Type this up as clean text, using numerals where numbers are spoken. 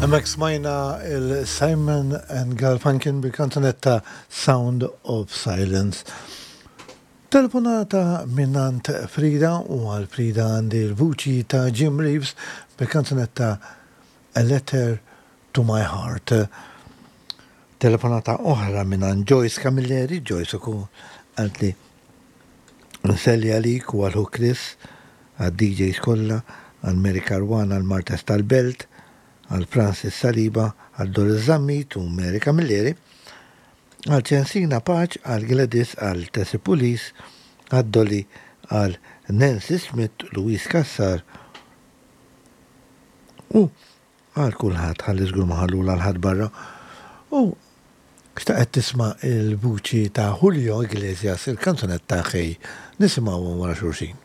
Hemmhekk smajna il-Simon and Garfunkel bil-kanzunetta Sound of Silence. Telefonata minnant Frida u għal Frida għandi l-vuċi ta' Jim Reeves bil-kanzunetta A Letter to My Heart. Telefonata oħra mingħand Joyce Camilleri, Joyce ukoll qaltli nselli għalik u għal ħu Chris, għad-DJs kollha, għal Mary Caruana l-Martes tal-Belt, għal Francis Saliba, għal Doris Zammit u Mary Camilleri, għal Ċensina Paċ, għal Gladys, għal Tessie Pulis, għal Dolly, għal Nancy Smith, Louise Cassar u Għal kulħadd, ħalli żgur ma ħallula 'l ħadd barra. U xtaqet tisma' l-vuċi ta' Julio Iglesias il-kanzunetta Hey. Nisimgħuhom wara xulxin.